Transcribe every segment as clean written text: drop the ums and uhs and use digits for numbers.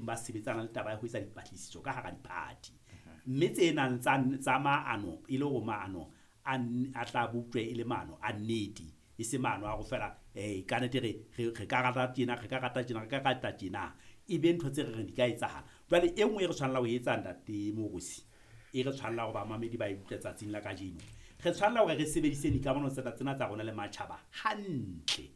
ba sebetsana le taba ya ho etsa dipatlisiso ka hara diphathi. Mme tse nang tsa maano e le hore maano a tla boptjwe e le maano a nnete, e se maano a go fela ka nnete re ka rata tjena, re ka rata tjena, re ka rata tjena. E be ntho tse re reng di ka etsahala. Jwale e nngwe e re tshwanela ho etsa ntate Moorosi, e re tshwanela hore bamamedi ba e utlwe tsatsing la kajeno. Re tshwanela hore re sebedise dikamano tsena tsa rona le matjhaba hantle.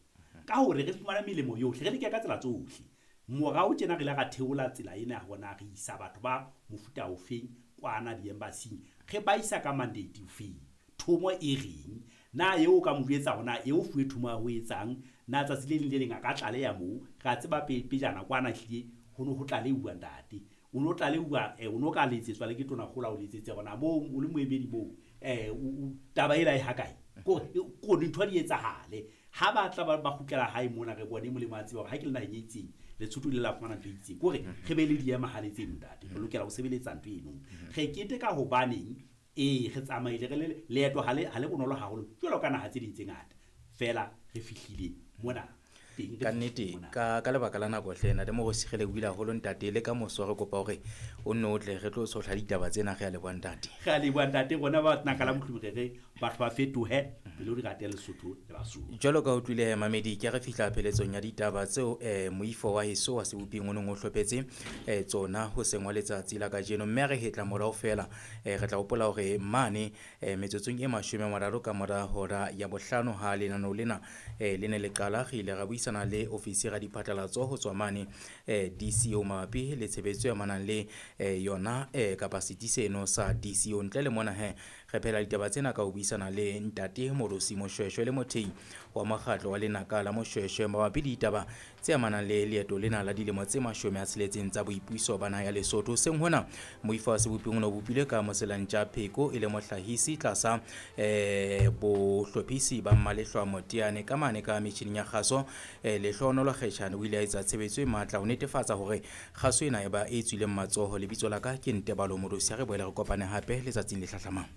Ka hore re fumane melemo yohle, re leke ka tsela tsohle. Morao tjena re ile ra theola tsela ena ya hore na re isa batho ba mofuta ofeng kwana di-embassy-ing, re ba isa ka mandate ofeng, thomo e reng, na eo ka mo jwetsa hore na eo fuwe thomo ya ho etsang, na tsatsi le leng le leng a ka tlaleha moo. Re a tseba pejana kwana ehlile ho no ho tlaleuwa ntate. O no tlaleuwa, o no ka letsetswa le ke tonakgolo a o letsetse hore na moo o le moemedi moo, taba ela e ha kae? Ko dintho di etsahale. Ha ba tla ba kgutlela hae mona, re bone molemo a tseba hore ha ke le naheng e itseng, Lesotho le la fumana ntho e itseng. Kore re be le diemahale tseno ntate, re lokela ho sebeletsa ntho eno. Re keteka hobaneng, ee re tsamaile re le leeto ha le bonolo haholo jwalo ka naha tse ding tse ngata. Feela re fihlile mona teng, re Ka fihlile nnete, mona. ka lebaka la nako hle, Ntate Moorosi, re lebohile haholo ntate. Le ka moso re kopa hore o nne o tle re tlo tshohla ditaba tsena. Re a leboha ntate. Re a leboha ntate, rona ba naka la mohlomong re re batho ba fetohe pele o di rate Lesotho le Basotho. Jwalo ka utlwile mamedi, ke re fihla pheletsong ya ditaba tseo moifo wa heso wa seboping o neng o hlophetse tsona ho seng wa letsatsi la kajeno. Mme re hetla morao feela, re tla hopola hore mane metsotsong e 30 ka mora hora ya 5 ha lenaneo lena le ne le qala, re ile ra buisana le ofisi ya diphatlalatso ho tswa mane DCO mabapi le tshebetso e amanang le yona kapa setsi seno sa DCO. Ntle le mona he, re phela ditaba tsena ka ho buisana le ntate Moorosi Moshweshwe le mothei wa mokgatlo wa lenaka la Moshweshwe mabapi le ditaba tse amanang le leeto lena la dilemo tse 60 tsa boipuso ba naha ya Lesotho. Seng hona moifo wa seboping o ne o bopilwe ka Moselantja Pheko e le mohlahisi tlasa bohlophisi ba Mmalehlwa Moteane. Ka mane ka metjhining ya kgaso, Lehlohonolo Kgetjhane o ile a etsa tshebetso e matla ho netefatsa hore kgaso ena e ba e tswileng matsoho. Lebitso la ka ke Ntebalo Moorosi. Ha re boele re kopane hape letsatsing le hlahlamang.